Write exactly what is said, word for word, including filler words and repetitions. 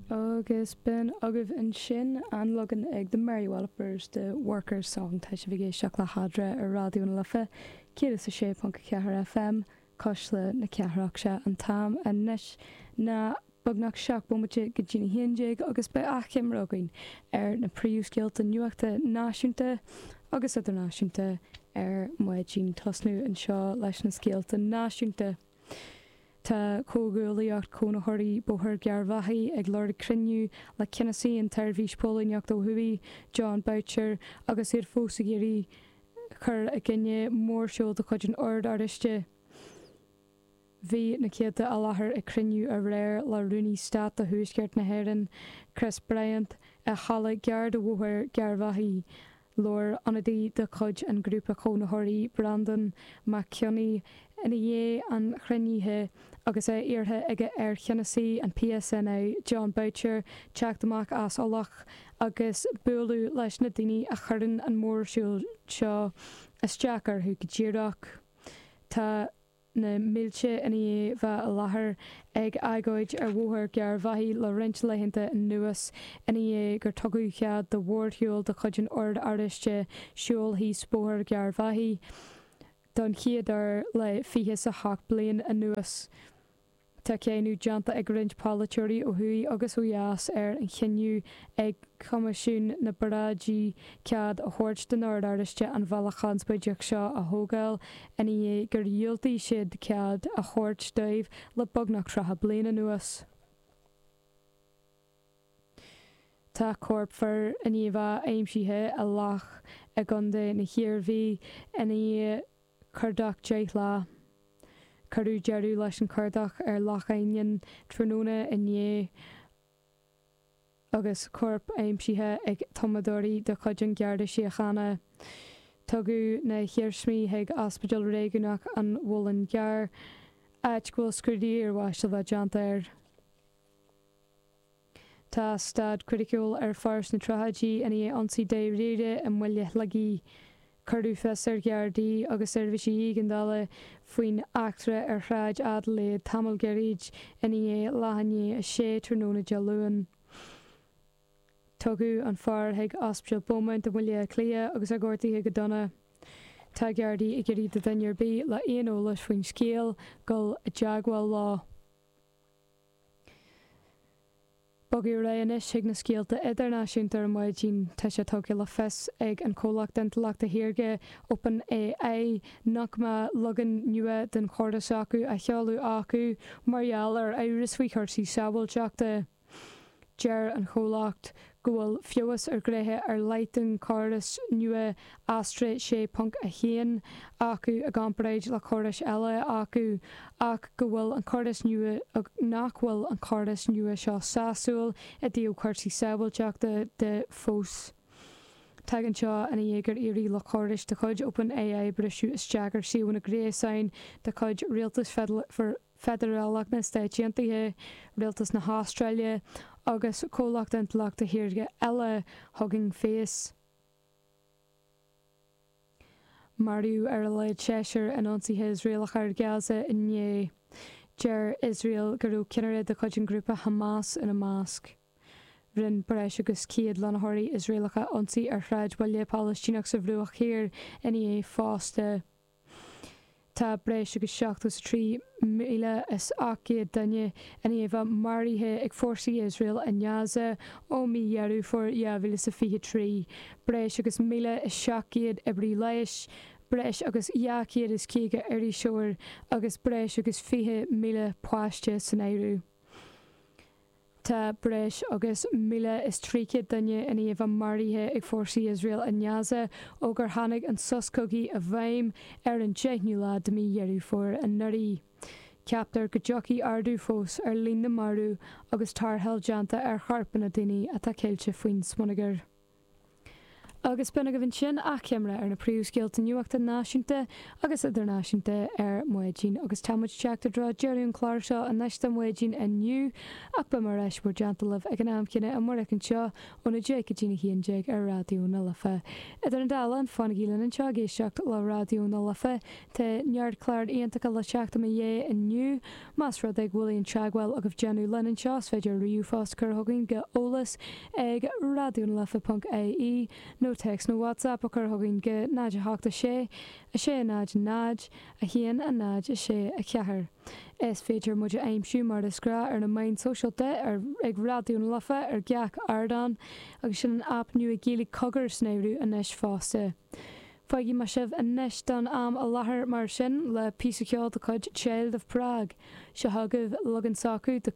Agus b'in agaibh ansin an leagan ag The Mary Wallopers de Workers Song tá sibh ag éisteacht le hEadra ar Raidió na Life céad is a sé ponc a ceathair FM Cuisle na Cathrach sé an t-am anois ná beagnach seacht bomaite go dtí a haon déag agus beidh achoimre againn ar na príomhscéalta nuachta náisiúnta agus idirnáisiúnta ar maidin tosnú anseo leis na scéalta náisiúnta. Tá Comhghuaillíocht Cónaitheoirí Bóthar Gharbhachaidh ag lorg cruinniú le ceannasaí an tSeirbhís Póilíneachta ó thuaidh, Jon Boutcher, agus iad fós ag iarraidh cur i gcoinne mórshiúl de chuid an Oird Oráistigh. Bhí na céadta i láthair ag cruinniú aréir le Rúnaí Stáit do Thuaisceart na hÉireann, Chris Bryant, i halla gar do Bhóthar Gharbhachaidh. Labhair ionadaí de chuid an ghrúpa cónaitheoirí Breandán Mac Cionnaith ina dhiaidh an chruinnithe agus é iarrtha aige ar cheannasaí an PSNI Jon Boutcher teacht amach as ullach agus bualadh leis na daoine a chuireann an mórshiúl seo isteach orthu go díreach. Tá na mílte i ndiaidh bheith i láthair ag agóid ar Bhóthar Gharbhachaidh le roinnt laethanta anuas ina dhiaidh gur tugadh cead do mhórshiúl de chuid an Oird Oráistigh siúl thíos Bóthar Gharbhachaidh don chéad uair le fiche is a hocht bliain anuas. Tá cáineadh déanta ag roinnt polaiteoirí ó thuaidh agus ó dheas ar an chinneadh ag Coimisiún na bParáidí cead a thabhairt don Ord Oráisteach an bhealach chonspóideach seo a thógáil ina dhiaidh gur dhiúltaigh siad cead a thabhairt dóibh le beagnach tríocha bliain anuas. Tá corp fir i ndiaidh bheith aimsithe i loch i gContae na hIarmhí ina dhiaidh cuardach deich lá. Cuireadh deireadh leis an chuardach ar Loch Ainnín tráthnóna inné agus corp aimsithe ag tumadóirí de chuid an Gharda Síochána. Tugadh na hiarsmaí chuig Ospidéal Réigiúnach an Mhuilinn Gcearr, áit go bhfuil scrúdú iarbháis le bheith déanta air. Tá staid chriticiúil ar fear sna tríochaidí i ndiaidh ionsaí dáiríre i mBaile Shligigh. Cuireadh fios ar Ghardaí agus seirbhísí éigeandála faoin eachtra ar Shráid Adelaide tamall gairid i ndiaidh leath i ndiaidh a sé tráthnóna Dé Luain. Tugadh an fear chuig Ospidéal Beaumont i mBaile Átha Cliath agus é gortaithe go dona. Tá Gardaí ag iarraidh do dhuine ar bith le aon eolas faoin scéal dul i dteagmháil leo. Bogadh ar aghaidh anois chuig na scéalta idirnáisiúnta ar maidin. Tá sé tugtha le fios ag an chomhlacht intleachta shaorga OpenAI nach mbeidh leagan nua den chóras acu á sheoladh acu mar gheall ar amhras faoi chúrsaí sábháilteachta. Deir an chomhlacht go bhfuil feabhas ar ghnéithe ar leith den chóras nua Astra sé ponc a haon acu i gcomparáid le córais eile acu ach go bhfuil an córas nua nach bhfuil an córas nua seo sásúil i dtaobh cúrsaí sábháilteachta de fós. Tagann seo ina dhiaidh gur éirigh le córais de chuid OpenAI briseadh isteach ar suíomhanna gréasáin de chuid Rialtas Feidearálach na Stáit Aontaithe, Rialtas na hAstráile agus comhlacht intleachta shaorga eile Hugging Face. Maraíodh ar a laghad seisear in ionsaithe Iosraelacha ar Gaza inné. Deir Iosrael go raibh ceannaire de chuid an ghrúpa Hamas ina measc. Rinne breis agus céad lonnaitheoirí Iosraelacha ionsaí ar shráidbhaile Palaistíneach sa Bhruach Thiar inné fosta. Tá breis agus seachtó is a trí míle is ocht gcéad duine i ndiaidh bheith maraithe ag fórsaí Iosrael i nGaza ó mhí Dheireadh Fómhair dhá mhíle is a fiche trí, breis agus míle is seacht gcéad oibrí leighis, breis agus dhá chéad is caoga iriseoir agus breis agus fiche míle páiste san áireamh. Tá breis agus míle is trí chéad duine i ndiaidh bheith maraithe ag fórsaí Iosrael i nGaza ó gur tháinig an sos cogaidh i bhfeidhm ar an deichiú lá de mhí Dheireadh Fómhair anuraidh. Ceaptar go dtiocfaidh ardú fós ar líon na marbh agus tarrtháil déanta ar chorpanna daoine atá ceilte faoin smionagar. Agus b'in agaibh ansin achoimre ar na príomhscéalta nuachta náisiúnta agus idirnáisiúnta ar maidin agus táimid ag teacht i dtreo deireadh an chláir seo anois do maidin inniu ach beidh mé ar ais bhur dteannta libh ag an am céanna amárach anseo óna deich go dtí a haon déag ar Raidió na Life. Idir an dá linn fanaigí linn anseo ag éisteacht le Raidió na Life Tá neart cláir iontacha le teacht i mo dhiaidh inniu más rud é go bhfuil aon teagmháil agaibh déanamh linn anseo is féidir ríomhphost a chur chugainn go eolas ag radionalife.ie nó téacs nó WhatsApp a chur chugainn go náid a hocht a sé, a sé náid náid, a haon a náid a sé a ceathair. Is féidir muid a aimsiú mar is gnách ar na meáin sóisialta ar ag Raidió na Life ar gach ardán agus sin an aip nua Gaeilge Cogar san áireamh anois fosta. Fágfaidh mé sibh anois don am i láthair mar sin le píosa ceoil de chuid Child of Prague, seo chugaibh leagan s'acu de